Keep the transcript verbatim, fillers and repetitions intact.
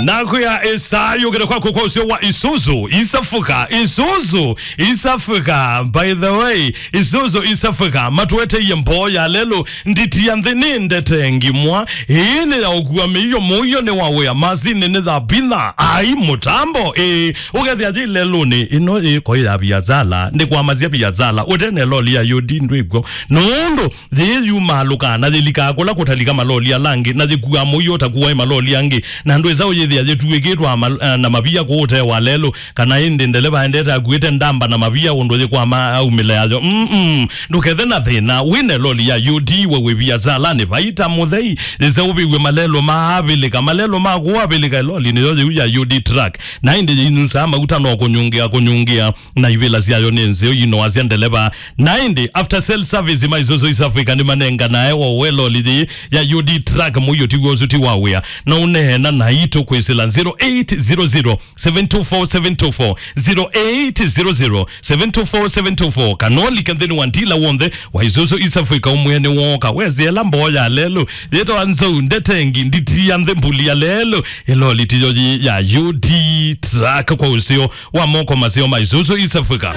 Nakwĩa ĩsaa yũkĩte kwaku kwa ũseo wa Isuzu East Africa. Isuzu East Africa, by the way, Isuzu East Africa matũeteie mboo ya lelũ. Nditi ya nthĩ nĩ ndete ngimwa. Ĩĩ nĩ ya ũkua mĩio, mũio nĩ wa wĩa, masini nĩ ya bitha, ai mũtambo. Ĩĩ, ũkethĩa yĩ lelũnĩ, ĩno ĩko ya biatsala, nĩ kwamasya biatsala, ũtene loli ya yũdi ndwĩkw'o. Nũndũ yĩĩ yumaalũkaa na yĩlikaa kũla kũtalika maloli ala angĩ, na yĩkuaa mũio ũtakuaĩ maloli angĩ, na ndwĩsa ũyĩthĩa yĩtuĩkĩtwe ama-, eh, na mavia kũũ ũtee wa lelũ, kana ĩndĩ ndeleva aendete akuĩte ndamba na mavia ũndũ yĩkwama aumĩle yayo. Mm-mm. Ndũkethe na thĩna, wĩne loli ya yũdi we wĩ viasalanĩ, vaita mũthei, yĩse ũvĩw'e malelũ ma avĩlĩka, malelũ ma kũũ avĩlĩka, loli nĩyo yĩu ya yũdi truck. Na ĩndĩ yĩinusaa mauta no kũnyungĩa, kũnyungĩa. Na ivĩla syayo nĩ nzeo, inoasya ndeleva. Na ĩndĩ, after sale service ma Isuzu East Africa nĩmanenganae o we loli yĩĩ ya yũdi truck mũio tiw'o ũsu ti wa wĩa. No ũneena naitũ kwĩsĩla zero eight zero zero, seven two four, seven two four, zero eight zero zero, seven two four, seven two four, kana ũlike nthĩnĩ wa ndila w'onthe wa Isuzu East Africa ũmwene wooka. Wesĩela mboo ya lelũ, yĩtawa nzou, ndetengi, nditi ya nthĩ, mbuli ya lelũ, ĩloli tiyo yĩ ya yũdi truck kwa ũseo wa moko maseo ma Isuzu East Africa.